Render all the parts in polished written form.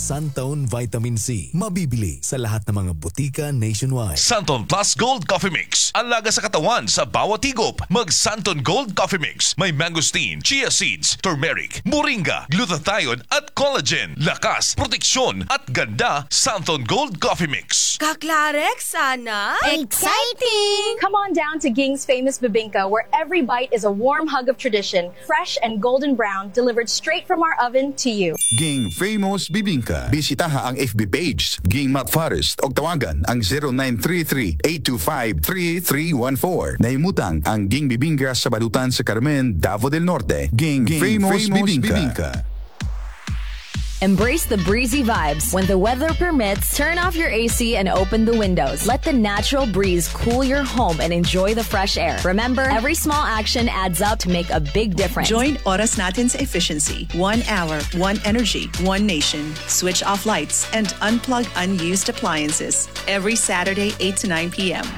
Santone Vitamin C. Mabibili sa lahat ng mga botika nationwide. Santon Plus Gold Coffee Mix. Alaga sa katawan sa bawat higop. Mag Santon Gold Coffee Mix. May mangosteen, chia seeds, turmeric, moringa, glutathione at collagen. Lakas, proteksyon at ganda. Santon Gold Coffee Mix. Kaklarex, sana? Exciting! Come on down to Ging's Famous Bibingka, where every bite is a warm hug of tradition, fresh and golden brown, delivered straight from our oven to you. Ging Famous Bibingka. Bisitaha ang FB page Ging Matt Forest og tawagan ang 0933-825-3314. Nahimutang ang Ging Bibingka sa balutan sa Carmen, Davao del Norte. Ging Famous Bibingka. Embrace the breezy vibes. When the weather permits, turn off your AC and open the windows. Let the natural breeze cool your home and enjoy the fresh air. Remember, every small action adds up to make a big difference. Join Oras Natin sa Efficiency. 1 hour, one energy, one nation. Switch off lights and unplug unused appliances. Every Saturday, 8 to 9 p.m.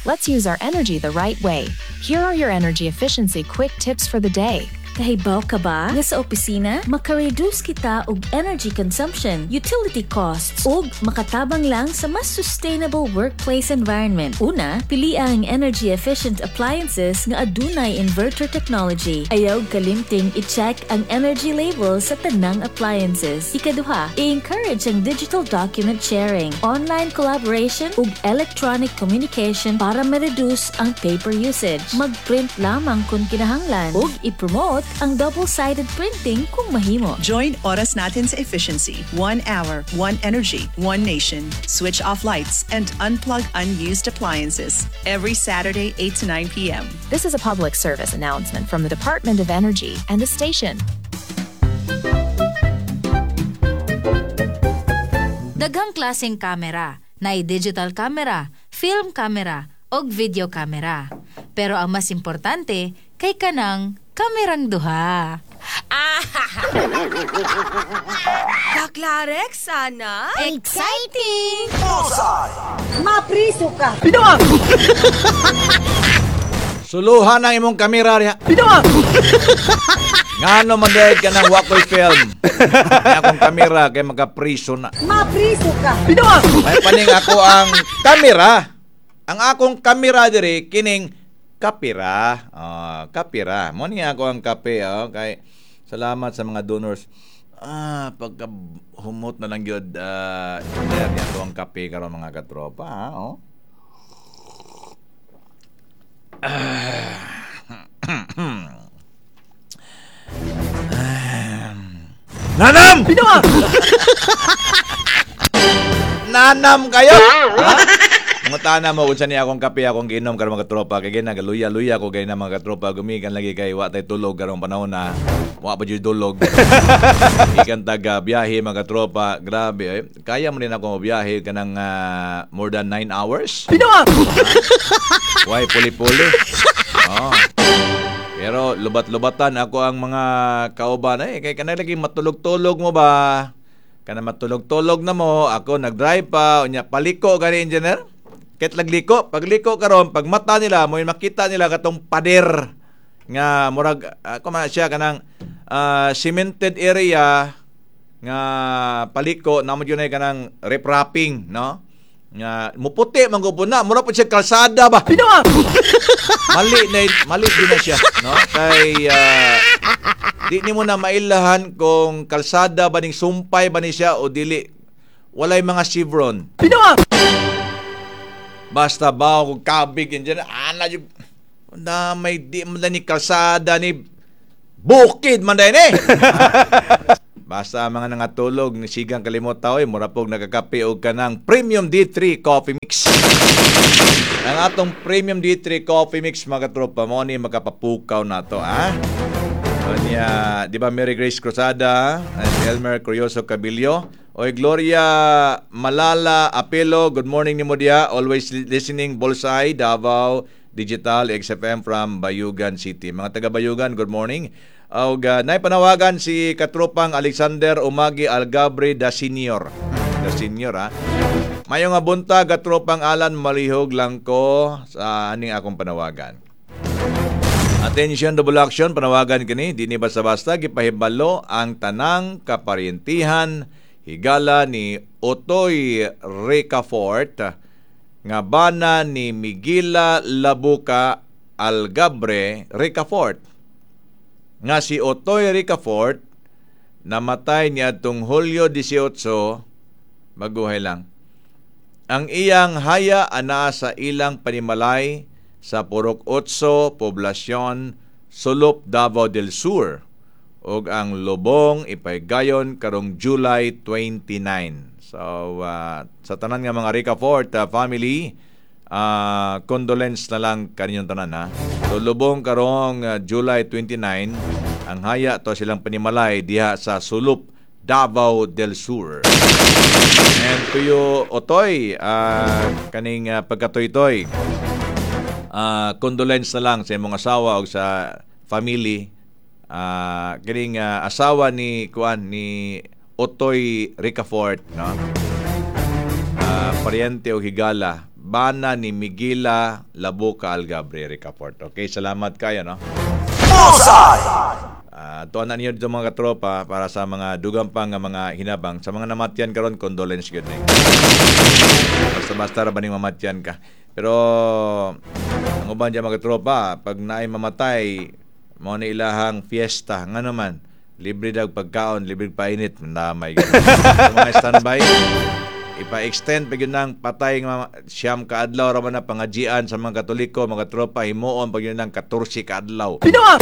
Let's use our energy the right way. Here are your energy efficiency quick tips for the day. Kahibaw ka ba nga sa opisina, maka-reduce kita og energy consumption, utility costs, ug makatabang lang sa mas sustainable workplace environment? Una, pili ang energy efficient appliances nga adunay inverter technology. Ayaw kalimting i-check ang energy label sa tanang appliances. Ikaduha, i-encourage ang digital document sharing, online collaboration ug electronic communication para ma-reduce ang paper usage. Mag-print lamang kung kinahanglan ug i-promote ang double-sided printing kung mahimo. Join Oras Natin sa Efficiency. 1 hour, one energy, one nation. Switch off lights and unplug unused appliances. Every Saturday, 8 to 9 p.m. This is a public service announcement from the Department of Energy and the station. Daghang klaseng kamera, naay digital camera, film camera, og video camera. Pero ang mas importante kay kanang kamerang duha. Ah! Kaklarex, sana? Exciting! Mapriso ka! Suluhan ang imong kamera riha. Ngano man dahil ka ng wakoy film? May akong kamera kay makapriso na. Mapriso ka! May paning ako ang kamera. Ang akong kamera diri kining kapira. Ah, kapira. Mo ni ako ang kape, oh, kay salamat sa mga donors. Ah, pagka humot na lang gyud uh, niya ang kape karon, mga katropa, ha, oh. Ah. Nanam! Nanam kayo! Ha? Mutana mo kung saan niya akong kape akong giinom karon, mga katropa, kay ginagaluya-luya ko kay na, mga katropa, gumikan lagi kay wa tay tulog karong panahon na wa pa jud tulog. Ikan taga biyahe, mga katropa, grabe eh. Kaya mo din ako biyahe kanang more than 9 hours. Why puli-puli? Oh. Pero lubat-lubatan ako ang mga kauban eh kay kanang lagi matulog-tulog mo ba? Kana matulog-tulog na mo, ako nag-drive pa, unya paliko gani, engineer. Ket lagliko, pagliko karon, pag mata nila, mo makita nila katong pader nga murag ako man siya kanang cemented area nga paliko na mo yun ay kanang riprapping, no? Nga muputi man gud na, mura po siya kalsada ba. Mali na mali din na siya, no? Kay di nimo na mailahan kung kalsada ba ning sumpay ba ni siya o dili. Walay mga chevron. Basta ba kung kabig yun dyan, ana yung na may di man ni kalsada ni bukid man din eh. Basta mga nangatulog ni sigang kalimot tao eh, mura pog nagkakape og kanang Premium D3 Coffee Mix. Ang atong Premium D3 Coffee Mix, mga katropa, mo ni makapapukaw na to, ha? Kanya, di ba, Mary Grace Cruzada, and Elmer Curioso Cabillo, Oy Gloria Malala Apelo, good morning nimo diya. Always listening, Bolsay, Davao, Digital XFM from Bayugan City. Mga taga Bayugan, good morning. Og naipanawagan si katropang Alexander Umagi Algabre da Senior. Da Senior ha. Mayo nga buntag, katropang Alan, malihog lang ko sa aning akong panawagan. Attention, double action, panawagan kini, di ni basta-basta gipahibalo ang tanang kaparyentihan, Higala ni Otoy Ricafort nga bana ni Miguela Labuca Algabre Ricafort. Nga si Otoy Ricafort namatay niadtong Hulyo 18, maguhay lang. Ang iyang haya anaa sa ilang panimalay sa Purok 8, Poblasyon, Sulop, Davao del Sur, ug ang lubong ipaygayon karong July 29. So sa tanan nga mga Ricafort family, condolence na lang kaninyong tanan ha. So lubong karong July 29, ang haya to silang panimalay diha sa Sulop, Davao del Sur. And to you, Otoy, kaning pagkatoy-toy, condolence na lang sa imong asawa o sa family. Kining asawa ni kuan ni Otoy Ricafort, no? Pariente o higala, bana ni Miguela Labuca Algabre Ricafort. Okay, salamat kayo, no? Bullseye! Tuan na niyo dito mga katropa para sa mga dugang pang mga hinabang. Sa mga namatyan karon, condolence gyud ni. Basta-basta ra ba ning mamatyan ka. Pero ang uban diyan mga katropa, pag naay mamatay, mao ni ilahang fiesta. Nga naman, libre dag pagkaon, libre painit, namay. So, mga standby, ipa-extend pa gyud nang patay nga siyam ka adlaw ra man na pangajian sa mga Katoliko, mga tropa, himuon pa gyud nang 14 ka adlaw. Pinoa!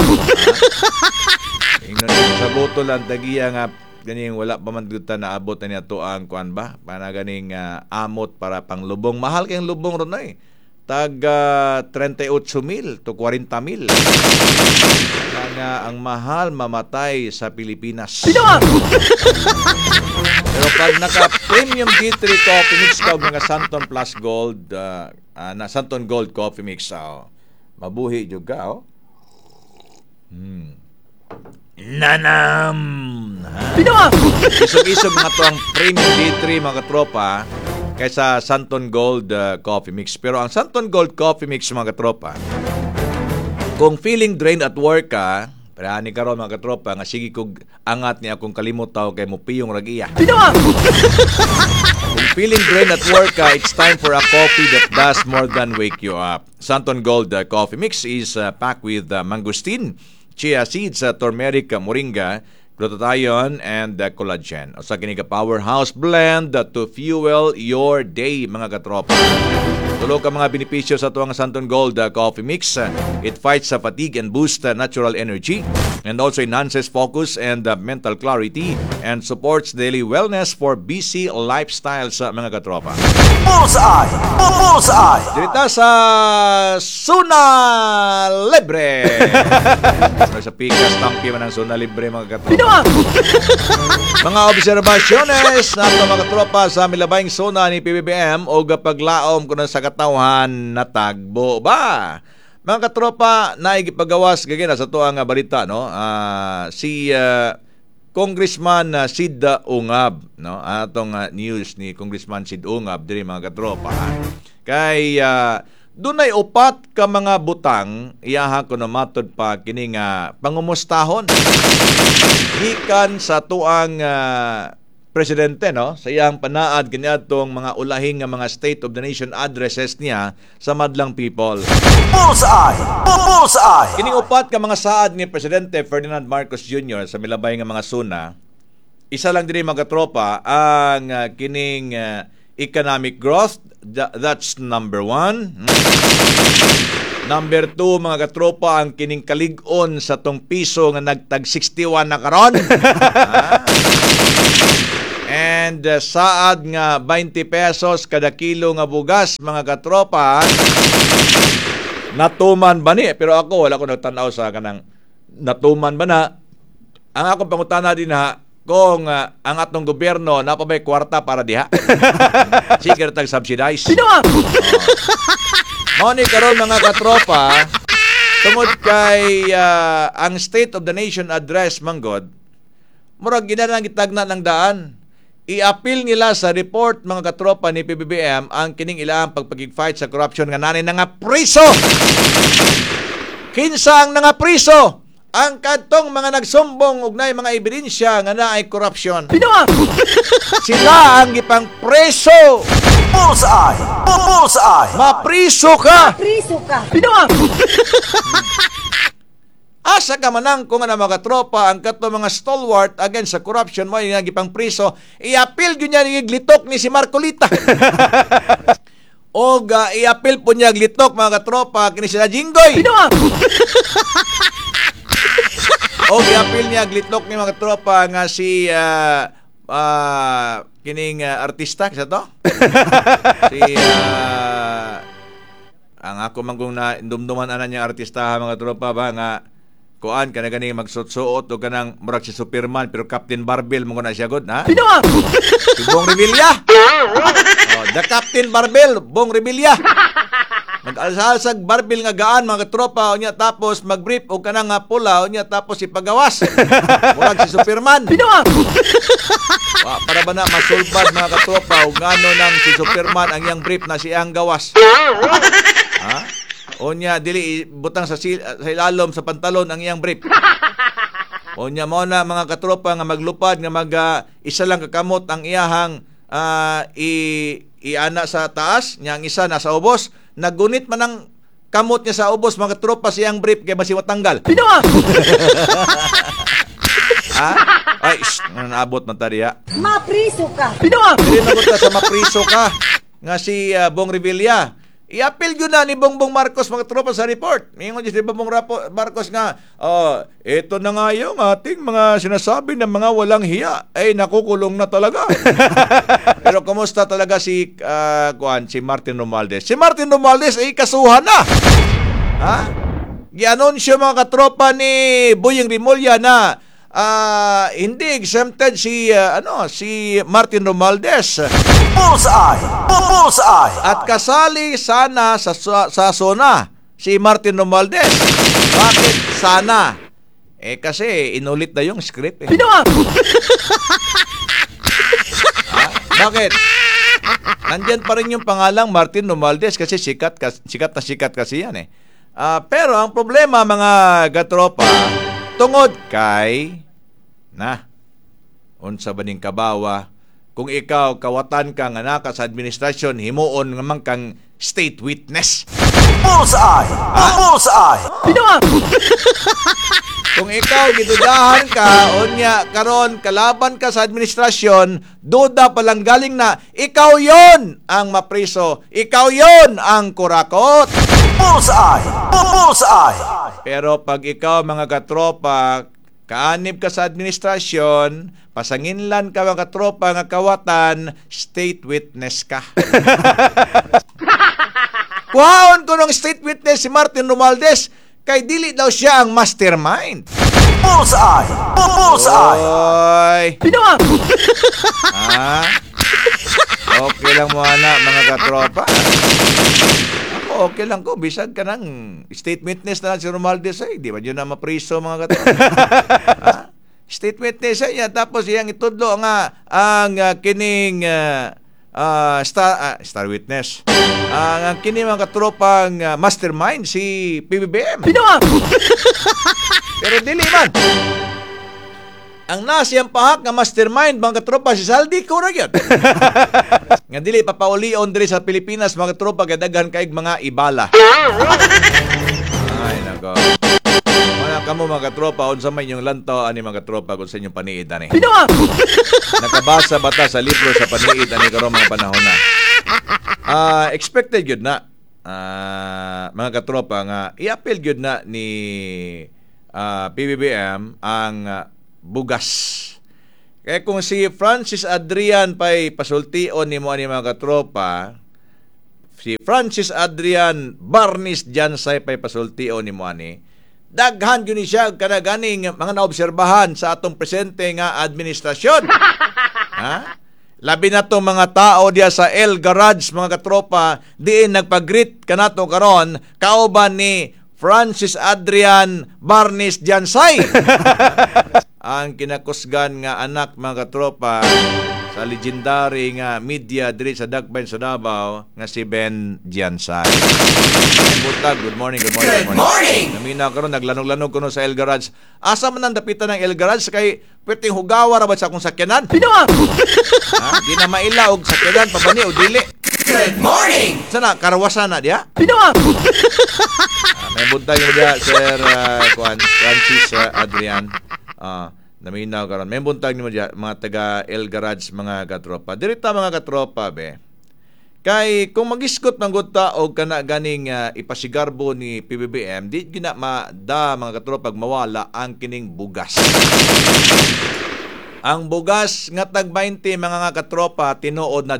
Ingnon sa boto lang tagiya nga ganing wala pa man gyud ta naabot na niya to ang kuan ba? Para ganing amot para panglubong. Mahal kayong lubong ron eh. Tag 38,000 to 40,000. Nga ang mahal mamatay sa Pilipinas. Pinoa! Pero pag naka-premium D3 coffee mix ka og mga Santon Plus Gold, na Santon Gold coffee mix, mabuhi jud ka, oh. Nanam! Pinoa! Isog-isog mga to ang premium D3 mga katropa kaysa Santon Gold coffee mix. Pero ang Santon Gold coffee mix mga katropa, kung feeling drained at work ka, pero ani karon mga katropa nga sige kog angat ni akong kalimutaw kay mupiyong ragiya. Pinoa! Kung feeling drained at work ka, it's time for a coffee that does more than wake you up. Santon Gold coffee mix is packed with mangosteen, chia seeds, turmeric, moringa, glutathione, and collagen. Usa kini ka powerhouse blend to fuel your day mga katropa. Tulo ka mga benepisyo sa tuwang Santon Gold Coffee Mix. It fights fatigue and boosts natural energy, and also enhances focus and mental clarity, and supports daily wellness for busy lifestyles mga katropa. Bullseye! Bullseye! Dito sa Suna Libre! Sa pikas, tampi man ang Suna Libre mga katropa. Pinoa! Mga obserbasyones nato mga katropa sa milabayng suna ni PBBM o paglaom kuno sa katawhan natagbo ba? Mga katropa, naigipagawas gagina sa tuang balita, no? Si Congressman Sid Ungab, no? Atong news ni Congressman Sid Ungab diri mga katropa. Kay dunay upat ka mga butang iyaha kuno matud pa kini nga pangumustahon gikan sa tuang presidente, no, sa iyang panaad kaniadtong mga ulahing nga mga State of the Nation addresses niya sa madlang people. Bullseye! Bullseye! Kining upat ka mga saad ni Presidente Ferdinand Marcos Jr. sa milabay nga mga suna, isa lang diri mga tropa ang kining economic growth, that's number 1. Number 2 mga katropa, ang kining kalig-on sa tong piso nga nagtag 61 na karon. And saad nga 20 pesos kada kilo nga bugas mga katropa. Natuman ba ni? Pero ako wala ko nagtan-aw sa kanang natuman ba na. Ang akong pangutana din ha, kung ang atong gobyerno na pa may kwarta para diha. Sige tag subsidize. Pinoa! Mao ni karon mga katropa, tungod kay ang State of the Nation address manggod, murag ginanang gitagna ng daan. I-appeal nila sa report mga katropa ni PBBM ang kining ilaang pagpagig-fight sa corruption nga nanay nga priso. Kinsa ang nga priso? Ang kadtong mga nagsumbong og naay mga ebidensya nga naay corruption. Sila ang gipang preso. Bullseye! Bullseye! Mapriso ka. Priso ka. Asa ka manang kung ano mga tropa ang kadtong mga stalwart against sa corruption mo nga gipang priso, i-appeal gyud niya glitok ni si Marcolita. Og i-appeal po niya glitok mga katropa kini sila Jinggoy. Og i-appeal niya glitok ni mga tropa nga si kining artista sa to. Si ang ako man kung na dumduman ana niya artista ha, mga tropa ba nga kuan kana gani magsuot-suot o kanang murag si Superman pero Captain Barbell mo na siya god ha. Si Bong Revilla. Oh, the Captain Barbell, Bong Revilla. Mag-alsa-alsag barbell nga gaan mga tropa unya tapos mag-brief og kanang nga pula unya tapos ipagawas. Murag si Superman. Wa para ba na masulbad mga katropa og ngano nang si Superman ang iyang brief na siyang gawas. Ha? Unya dili butang sa sa ilalom sa pantalon ang iyang brief. Unya mao na mga katropa nga maglupad nga mag isa lang kakamot ang iyahang iana sa taas, nya ang isa nasa ubos. Nagunit man ang kamot niya sa ubos mga tropa siyang brief kay basi matanggal. Ha? Ay, shh, naabot man ta diha. Mapriso ka. Dili na sa mapriso ka nga si Bong Revilla. I-appeal yun na ni Bongbong Marcos mga tropa sa report. Mingon si Bongbong Marcos nga, ito na nga yung ating mga sinasabi ng mga walang hiya ay nakukulong na talaga. Pero kumusta talaga si si Martin Romualdez? Si Martin Romualdez ay kasuhan na. Ha? Gianunsyo mga katropa ni Boying Remulla na hindi exempted si si Martin Romualdez. Bullseye! Bullseye! At kasali sana sa SONA si Martin Romualdez. Bakit sana? Eh kasi inulit na yung script eh. Ha? Bakit? Nandyan pa rin yung pangalang Martin Romualdez kasi sikat na sikat kasi yan eh. Pero ang problema mga katropa, tungod kay na unsa ba ning kabawa kung ikaw kawatan ka nga naka sa administrasyon himuon nga man kang state witness. Bullseye! Bullseye! Kung ikaw gidudahan ka unya karon kalaban ka sa administrasyon, duda pa lang galing na ikaw yon ang mapriso, ikaw yon ang kurakot. Bullseye! Bullseye! Pero pag ikaw mga katropa, kaanib ka sa administrasyon, pasanginlan ka mga katropa nga kawatan, state witness ka. Kuhaon ko ng state witness si Martin Romualdez, kay dili daw siya ang mastermind. Bullseye! Bullseye! Oy! Ah, okay lang mo ana mga katropa. Okay lang ko, bisag ka ng state witness na lang si Romualdez ay, di ba yun na mapriso mga katropa? Ha? State witness ay niya, tapos iyang itudlo nga ang kining star witness. Ang kining mga katropang mastermind si PBBM. Pero dili man. Ang nasiyang pahak nga mastermind mga katropa si Zaldy Co ra gyud. Nga dili papaulion diri sa Pilipinas mga katropa kay daghan kaig mga ibala. Ay nako. Wala kamo mga katropa unsa may inyong lantaw ani mga katropa kung sa inyong paniid ani. Nakabasa ba ta sa libro sa paniid ani karon mga panahon na? Expected gyud na mga katropa nga i-appeal gyud na ni PBBM ang bugas. Kaya kung si Francis Adrian pa'y pasultion ni mo ani mga katropa, si Francis Adrian Barnis Jansay pa'y pasultion ni mo ani, daghan yun siya kanaganing mga naobserbahan sa atong presente nga administrasyon. Ha? Labi na itong mga tao diya sa El Garage mga katropa, diin nagpag-greet kanato karon kauban ni Francis Adrian Barnis Jansay. Ang kinakusgan nga anak mga katropa Sa legendary nga media diri sa Dakbayan sa Davao nga si Ben Giansay. Buntag, good morning, good morning. Good morning. Namina karon, naglanog-lanog kuno sa El Garage. Asa man ang dapitan ng El Garage kay pwedeng hugawa ra ba sa akong sakyanan? Pinoa. Ha? Di na maila og sakyanan pabani o dili. Good morning. Sana karawasan na diya? Pinoa. May buntag mo diya, Sir Kuan Francis Adrian. Naminaw karon. May buntag nimo diya, mga taga El Garage, mga katropa. Dirita, mga katropa, be. Kay kung magisgot man gud ta og kana ganing ipasigarbo ni PBBM, di gina ma-da, mga katropa, mawala ang kining bugas. Ang bugas nga tag 20, mga nga katropa, tinuod na.